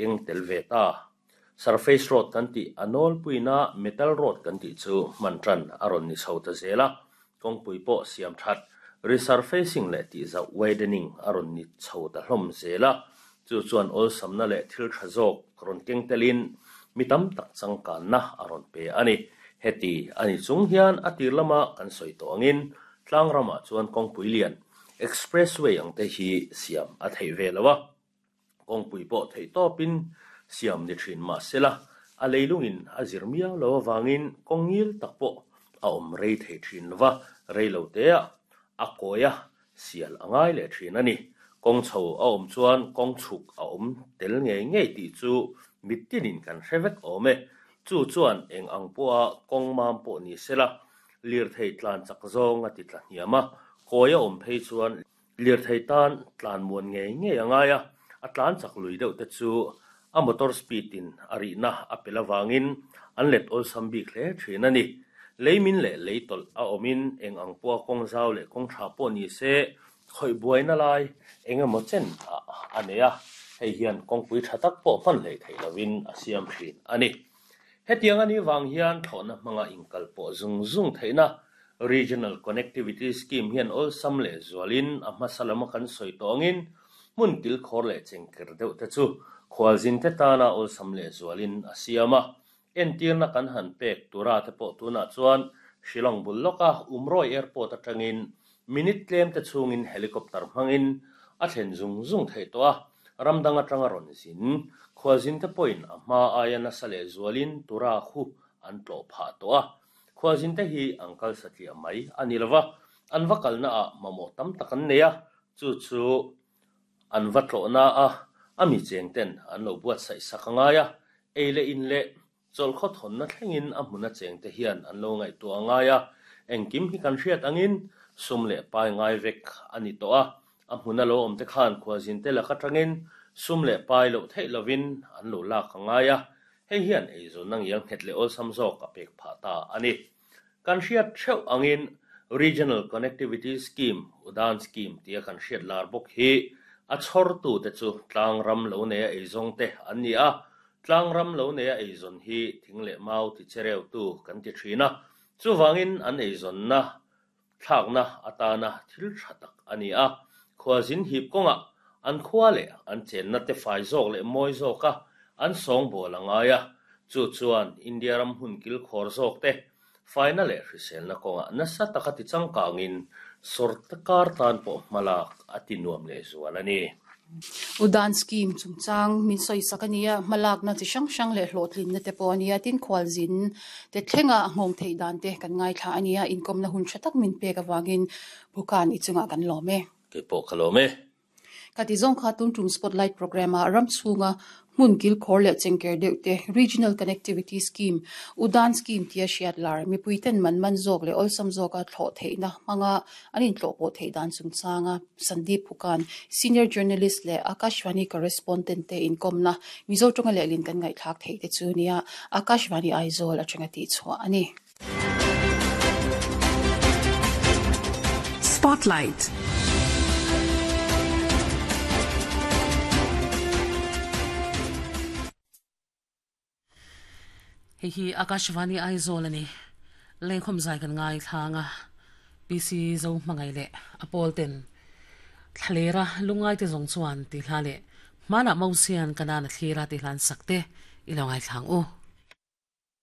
keng tel ve ta. Surface road kan tih a nawlpuina metal road kan tih chu hman tan a rawn ni chho ta zel a, kawngpui pawh siam that, resurfacing leh tihzauh, widening, a rawn ni chho ta hlawm zel a, chu chuan awlsamna leh thil tha zawk rawn keng telin mi tam tak changkanna a rawn pe a ni. Heti a ni chung hian a tir lama kan sawi tawh angin tlang ramah chuan kawngpui lian, expressway ang te hi siam a theih ve lo a. Kawngpui pawh theih tawpin siam ni thin mah sela, a leilungin a zir miau lo avangin kawng ngil tak pawh a awm rei thei thin lo va, rei lo teah a kawi a, sial a ngai leh thin a ni. Kawng chho a awm chuan kawng chhuk a awm tel ngei ngei tih chu mittinin kan hre vek awm e. Chu chuan eng ang pawha kawng mam pawh ni sela, lirthei tlan chak zawng a ti tla hniam a, kawi a awm phei chuan Lirthei tan tlan muan ngei ngei a ngai a, a tlan chak lui deuh te chu a motor speed in a rihna a pel avangin an let awlsam bik hle thin a ni. Lei min leh lei tawlh a awmin eng ang pawha kawng zau leh kawng tha pawh ni se khawih buaina lai eng emaw chen ah a nei a, hei hian kawngpui tha tak pawh hman hleih theih lovin a siam thin a ni. Hetiang a nih vang hian thlawhna hmanga inkal pawh zung zung theihna Regional Connectivity Scheme hian awlsam leh zualin a hmasa lama kan sawi tawh angin hmun kilkhawr leh chengker deuh te chu khualzinte tana awlsam leh zualin a siam a. Entirna kan han pek tura te pawh tunah chuan Shillong bul lawka Umroi Airport atangin Minute tlem te chhungin helicopter hmangin a thlen zung zung theih tawh a, ram dang atanga rawn zin. Khualzin te pawhin a hma aia nasa leh zualin tura khu an tlawh phah tawh a. Khualzin te hi an kal satliah mai a ni lova, an va kalna ah mamawh tam tak an nei a, chu chu an va tlawhna a a mi cheng ten an lo buatsaih sak a ngai a, ei leh in leh Chawlhkhaw thawnna thlengin a hmuna chengte hian an lo ngaihtuah a ngai a, engkim hi kan hriat angin sum leh pai ngai vek a ni tawh a, a hmuna lo awmte khan khualzinte lak atangin sum leh pai loh theih lovin an lo lak a ngai a, hei hian eizawnna ngial nghet leh awlsam zawk a pek phah ta a ni. Kan hriat theuh angin Regional Connectivity Scheme, Udan Scheme tia kan hriat lar bawk hi a chhawrtute chu tlang ram lo neia eizawngte an ni a, tlang ram lo neia eizawn hi thing leh mau ti chereutu kan ti thin a, chuvangin an eizawnna thlakna atana thil tha tak a ni a, khualzin hip kawngah an khua leh an chenna te fai zawk leh mawi zawka an sawngbawl a ngai a, chu chuan India ram hun kilkhawr zawk te faina leh hriselna kawngah nasa taka ti changkangin sawrkar tan pawh hmalak a ti nuam leh zual a ni. Udan scheme chungchang min sawisak a nia, hmalakna chi hrang hrang leh hlawhtlinna te pawh a nia, tin khualzin te thlenga a nghawng theih dan te kan ngaithla a nia, inkawmna hun tha tak min pek avangin Bhukan i chungah kan lawm e. Kei pawh ka lawm e. Ka ti zawng kha tun tum Spotlight Programme ah ram chhunga hmun kilkhawr leh chengker deuh te Regional Connectivity Scheme, Udan Scheme tia hriat lar mipui ten man man zawk leh awlsam zawka thlawh theihna hmanga an intlawhpawh theih dan chungchanga Sandeep Phukan, Senior Journalist leh Akashvani Correspondent te inkawmna Mizo tawnga lehlin kan ngaihthlak theih te chu nia Akashvani Aizawl atanga tihchhuah a ni. Spotlight. Hei hi Akashvani Aizawl a ni. Lengkhawm zai kan ngai thlang a, PC Zo hmangaih leh a pawl ten thlalera lungngai te zawng chuan tih hla leh hmanah Mosian Kanaan a thlir a tih hla an sak te i lo ngaithlang u.